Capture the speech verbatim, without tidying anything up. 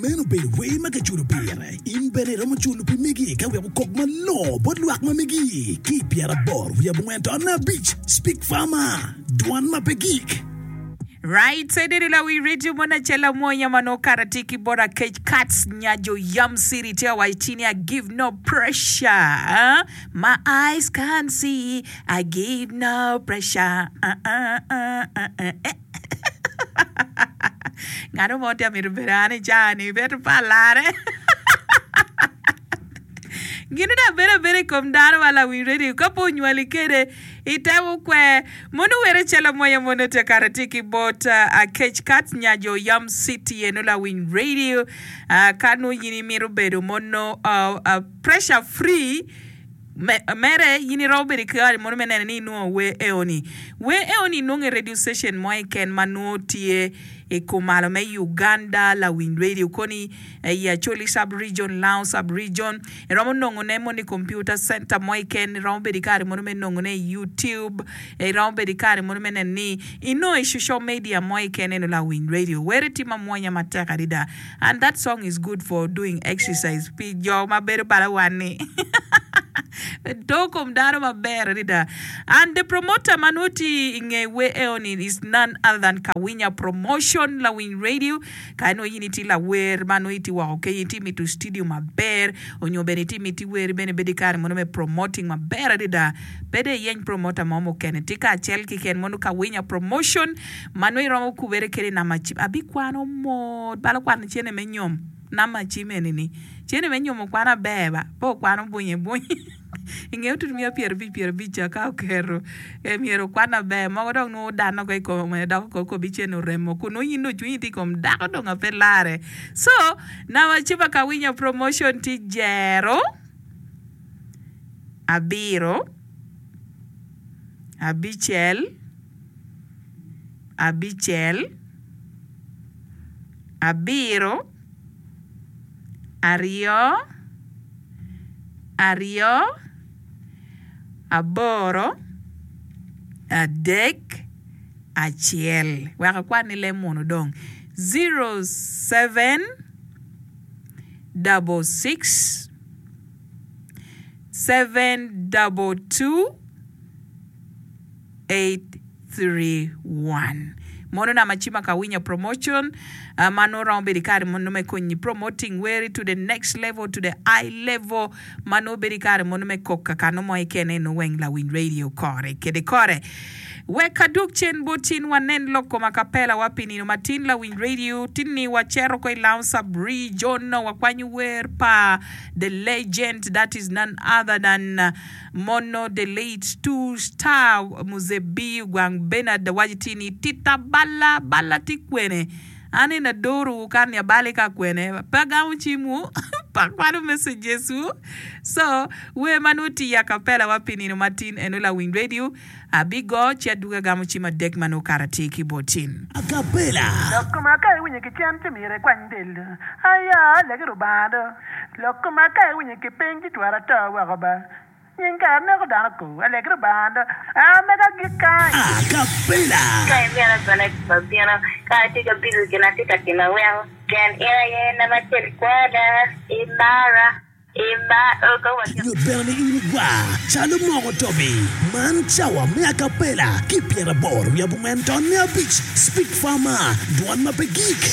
Meno obedo wer ma kiculo pire. In bene iromo culo pi megi ka wek okok malongo bot lwak ma megi. Ki i pyeraboro wiye abongwen tonne abic, Speak Farmer, Dwan ma pe gik. Right side lawi radio mon acel amwonya ma nongo kara tye ki bot Akec Kats nyajo Yam City tye ka waco ci ni I give no pressure uh, my eyes can't see I give no pressure uh, uh, uh, uh, uh, eh. Ngat mo tye mito bedo an i caa-ni bedo pa alare. Gin dong bedo abeda i kom dano ma lawiny radio ka pe onywali kede itemo kwer. Mono were calo amwonya mono tye kare tye ki bot Akec Kat nyajo Yam City eno lawiny radio ka nongo in imito bedo mono pressure free mere in iromo bedo ki kare mono me neno ni inwongo wer eoni. Wer eoni inwongo i radio station mo keken ma nongo tye i kumalo me Uganda lawiny radio koni i Acholi sub region, Lango sub region iromo nongone mono i computer center mo keken iromo bedo ki kare mono me nongone i YouTube iromo bedo ki kare mono me neno ni inongo i social media mo keken eno lawiny radio were tye mamwonya matek adada and that song is good for doing exercise pi jo ma bedo bala wan-ni doo kom dano maber adada and the promoter ma nongo tye i nge wer eoni is none other than Kawinya Promotion lawiny radio ka nongo in itye lawer ma nongo itye woko kenyo itye mito studio maber onyo bene itye miti wer bene bedo ki kare mono me promoting maber adada pe dong iyeny promoter mo mukene tye kacel keken mono Kawinya Promotion ma nongo iromo kubere kede i namba cim abikwano mot balo kwano cene me nyom namba cim eni-ni cene me nyom okwano aber ba pe okwano bunye bunye inge otutu miya pyerabic pyerabic ca ka oketo myero okwan aber mogo dong nongo odanne oko i kome dok okobi cene oremo kun nongo in dong cwinyi tye i kom dako dong ape lare so namba cim pa Kawinya Promotion tye jero abiro abicel abicel abiro aryo aryo aboro adek acel wek akwan ni leb munu dong zero seven double six seven double two eight three one Mono namba cim ka Winya Promotion ma nongo romo bedo i kare mono me konyi promoting weri to the next level to the high level ma nongo bedo i kare mono me kok kakano mo keken eno weng lawiny radio kore kede kore. Wek adwog cen bot in wanen lok kom akapela wa pi nino matin lawiny radio tinni waceto ko i Lounge Sub Region wakwanyo wer pa the legend that is none other than Mono the late two star Muzebi Ogwang Bernard waco ti ni tita balla balla tye kwene an eni adoro kan ni abali ka kwene pe agamo cimwu pe akwano messages wu so wer ma nongo tye i acapella wa pi nino matin eno lawiny radio abigo ci adwogi agamo cim adek ma nongo kara tye ki botin. Acapella. Lok koma ka iwinyo ki cen ci myero ikwany del do. Aya, legi Rubanga do. Lok koma ka iwinyo ki piny ci twero ato woko ba. Nying kare neko dano ko. Alegi Rubanga do. A mega agik kany. Acapella. Ka imito bene abino, ka atye ka bido gin atye ka timo weko, pien in aye namba acel i kwona, imara, imara, ka watye. Nyut bene ni in igwar calo moko tobi. Man cawa me acapella ki pyeraboro wiye abongwen tonne abic Speak Farmer, dwan ma pe gik.